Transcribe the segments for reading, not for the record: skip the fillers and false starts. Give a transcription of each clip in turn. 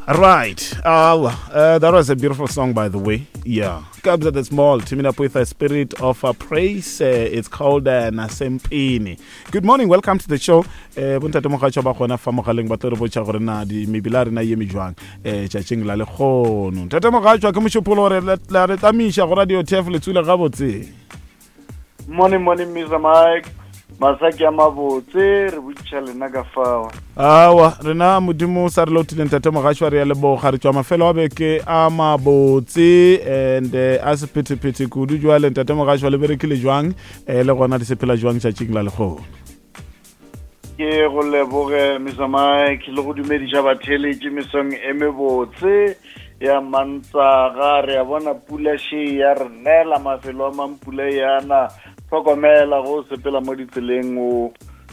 Right. That was a beautiful song, by the way. Yeah. Kabza De Small, teaming up with a spirit of praise. It's called Nasempini. Good morning. Welcome to the show. Bontate Mogatšwa ba gona fa mogaleng ba tlo re botša gore na di mebila ya rena e eme jwang eh tšatšing la lekgono. Ntate Mogatšwa ke mošupolo gore la re tamiša go radio TF le tsule gabotse. Morning, morning, Mr. Mike. Masaki a mabotse, re botšiša lena ka fao. Awa, rena modimo sa re lotile ntate Mogatšwa re ya leboga re tšwa mafelo a beke a mabotse and eh, a sephethephethe kudu jwale ntate Mogatšwa le berekile jwang eh, le gona di sepela jwang tšatšing la lekgono. Ke go leboge Mr. Mike le go dumediša batheeletši mesong e mebotse ya Mantaga. Re a bona pula še ya re nela mafelo a mang pula yana. Hlokomela go sepela mo ditseleng o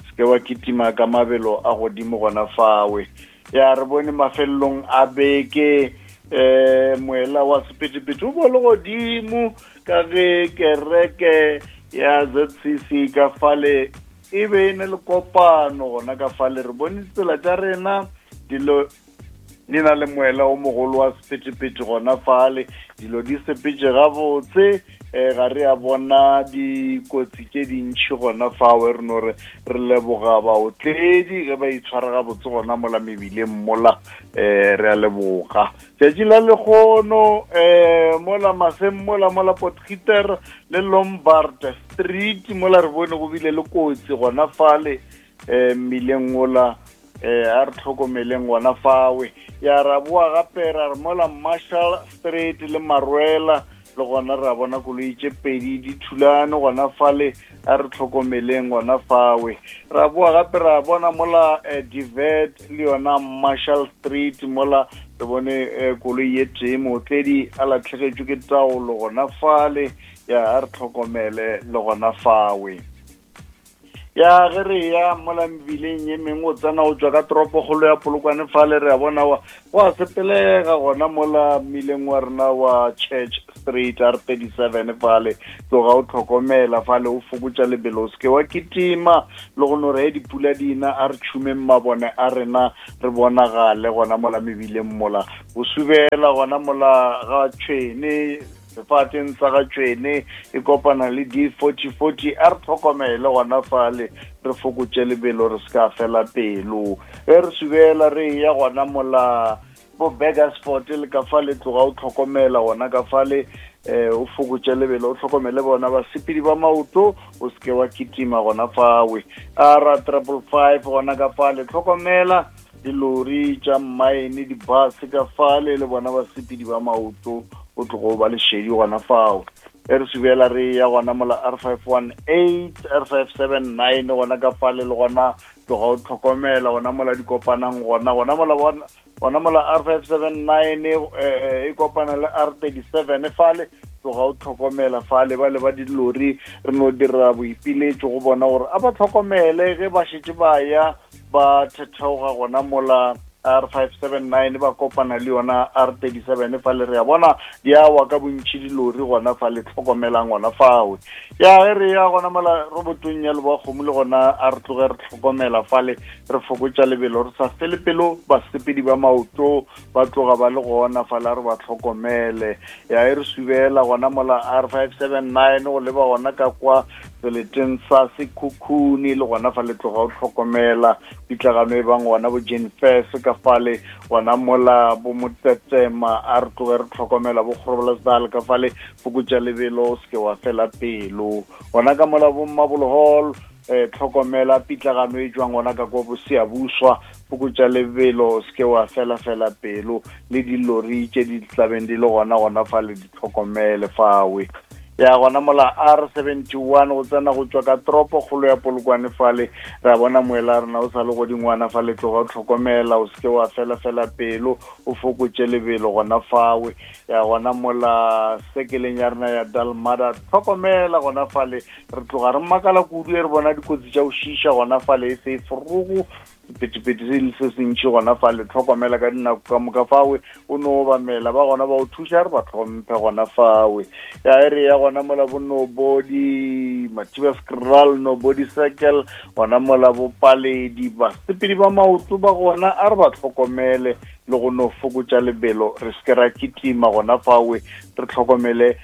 seke wa kitima ka mabelo a godimo gona fawe. Ya re bone mafelelong a beke eh moela wa sephethephethe o bo le godimo ka ge kereke ya ZCC ka fale e be e ne le kopano gona ka fale re bone ditsela tša rena dilo di na le moela o mogolo wa sephethephethe gona fale dilo di sepetše gabotse um ga re a bona dikotsi tše dintšhi gona fawe re no re re leboga baotledi ge ba itshwara gabotse gona mola mebileng mola um re a leboga tšatši la lekgono um mola maseng mola mola potgieter le lombard street mola re bone go bile le kotsi gona fale um mmileng ola um a re tlhokomeleng gona fawe ya ra boa gape ra re mola marshall street le marwela le gona ra bona koloi tše pedi di thulane gona fale a re tlhokomeleng gona fawe ra boa gape ra bona mola eh, divet le yona marshall street mola re bone eh, koloi ye tee mootledi a latlhegetšwe ke taolo gona fale ya a re tlhokomele le gona fawe ya ge re ya mola mebileng ye mengwe o tsena o tswa ka toropokgolo ya polokwane fale re a bona wa go a sepelega gona mola mmileng wa rena wa church street r 37 fale tloga o tlhokomela fale o fokotša lebelo o seke wa kitima le go no re he dipula dina a re tšhumeng mabone a rena re bonagale gona mola mebileng mola o subela gona mola ga tšhwene sefateng sa ga tšwene e kopana le d 40 40 a re tlhokomele gona fale re fokotše lebelo re se ka fela pelo ge re subela re ya gona mola bo burgersport le ka fale tloga o tlhokomela gona ka fale um o fokotše lebelo o tlhokomele bona basepedi ba maoto o seke wa kitima gona fawe a ra 555 gona ka fale tlhokomela dilori tša mmaene dibase ka fale le bona basepedi ba maoto o tlogo ba lešedi gona fao e re subela re ya gona mola r 518 r 579 gona ka fale le gona tloga o tlhokomela gona mola di kopanang gona gona mola gona mola r 579 e eh, eh, kopana le r 37 fale tloga o tlhokomela fale ba le ba dilori re no dira boipiletšo go bona gore a ba tlhokomele ge ba šetše ba ya ba thetheoga gona mola R579 ba kopana le yona R37 fa le re ya bona di a wa ka bontšhi dilori gona fa le tlhokomelang gona fawe ya ge re ya gona mola robotong ya leboa kgomo le gona a re tloge re tlhokomela fale re fokotša lebelo re sa fele pelo basepedi ba maoto ba tloga ba le gona fale a re ba tlhokomele ya e re subela gona mola R579 go leba gona ka kwa seleteng sa sekhukhuni le gona fa le tloga o tlhokomela pitlagano e bang gona bo jenfes ka fale gona mola bo motetema a re tloge re tlhokomela bo kgorobolesdal ka fale fokotša lebelo o seke wa fela pelo gona ka mola bo mmabolo hall eh tlhokomela pitlagano e jwang gona ka kwa boseyabuswa fokotša lebelo o seke wa fela fela pelo le dilori tše di tlabeng di le gona gona fa le di tlhokomele fawe ya gona mola r 71 go tsena go tswa ka toropo kgolo ya polokwane fale ra bona moela rena o sa le godingwana fa le tloga o tlhokomela o seke wa fela fela pelo o fokotše lebelo gona fawe ya gona mola sekeleng ya rena ya dalmada tlhokomela gona fale re tloga re makala kudu e re bona dikotsi tša go šiša gona fale e se e forogo sephethephethe se le se sentši gona fa le tlhokomela ka dinako ka moka fawe o no obamela ba gona ba o thuša re ba tlhomphe gona fawe ya e re ya gona mola bo nobody mathiba scral nobody circle gona mola bo paledi basepedi ba maoto ba gona a re ba tlhokomele le go no fokotša lebelo, re se ke ra kitima gona fawe, re tlhokomele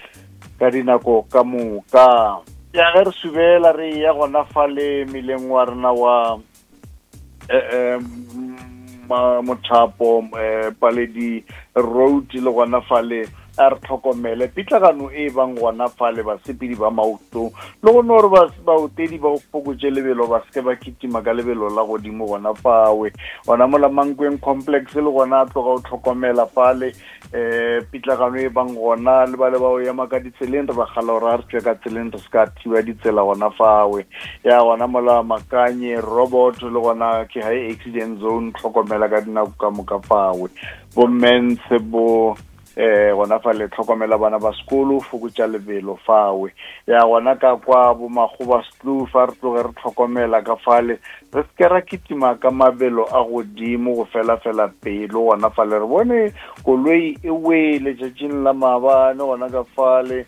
ka dinako ka moka. Ya ge re subela re ya gona fale mileng wa rena wa eh, eh, mothapo eh, paledi road le gona fale a re tlhokomele pitlagano e bang gona fale basepedi ba maoto le go no gore baotedi ba fokotše lebelo ba seke ba kitima ka lebelo la godimo gona fawe gona mola mankweng complex le gona a tloga o tlhokomela fale um pitlagano e bang gona le ba le ba o ema ka ditseleng re ba gala gore a re tswe ka tseleng re se ka thiba ditsela gona fawe ya gona mola makanye robot le gona ke high accident zone tlhokomela ka dinako ka moka fawe bommentshe bo eh gona fa le tlhokomela bana ba sekolo fokotša lebelo fawe ya gona ka kwa bo magoba stlu fa re tloge re tlhokomela ka fale re se ke ra kitima ka mabelo a godimo go fela fela pelo gona fale re bone koloi e wele tšatšing la maabane gona ka fale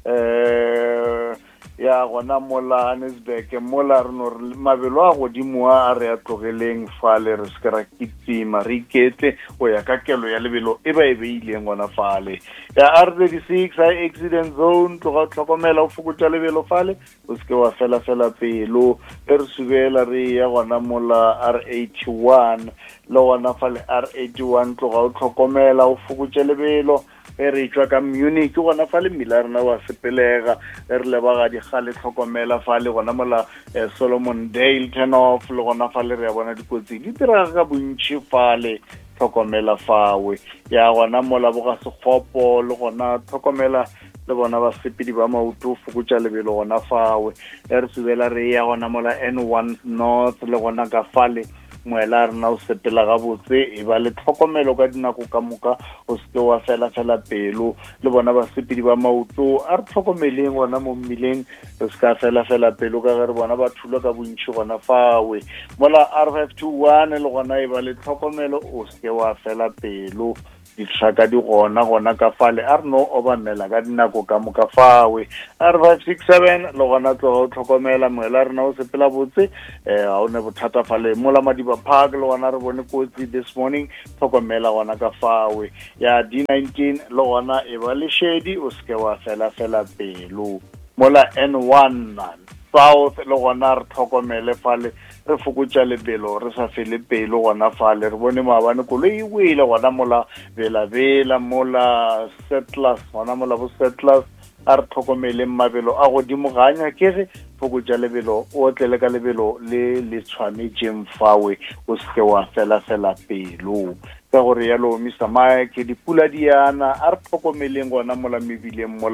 um ya gona mola Hannesburg mola re no re mabelo a godimo a re a tlogeleng fale re se ke ra kitima re iketle go ya ka kelo ya lebelo e ba e beileng gona fale ya R 36 high accident zone tloga tlhokomela o fokotša lebelo fale o se ke wa fela fela pelo ge re subela re ya gona mola R81 le gona fale R81 tloga o tlhokomela o fokotše lebelo ge re tšwa ka Munich gona fale mmila ya rena wa sepelega ge re leba ga digale tlhokomela fale gona mola eh, Solomon Dale turn off le gona fale re ya bona dikotsi di direga ka bontši fale tlhokomela fawe ya gona mola boga sekgopo le gona tlhokomela le bona basepedi ba maoto fokotša lebelo gona fawe e re subela re ya gona mola n one north le gona ka fale moela rena o sepela gabotse e ba le tlhokomelo ka dinako ka moka o seke wa fela fela pelo le bona basepedi ba maoto a re tlhokomeleng gona mo mmileng re se ka fela fela pelo ka ge re bona ba thulwa ka bontšhi gona fawe mola r 521 le gona e ba le tlhokomelo o seke wa fela pelo Ditlhaka di gona gona ka fale, a re no obamela ka dinako ka moka fawe. A re 567 le gona tloga o tlhokomela moela rena o sepela botse eh ga o ne bothata fale mola Madiba Park le gona re bone kotsi this morning tlhokomela gona ka fawe ya D19 le gona e ba lešedi o seke wa fela fela pelo mola N1 South le gona re tlhokomele fale re fokotša lebelo re sa fele pelo gona fale re bone maabane koloi e wele gona mola belabela mola settlers gona mola bo settlers a re tlhokomeleng mabelo a godimo ga a nyakege fokotša lebelo o otlele ka lebelo le le tshwanetšeng fawe o seke wa fela fela pelo ka gore yalo Mr Mike dipula di yana a re tlhokomeleng gona mola mebileng mola.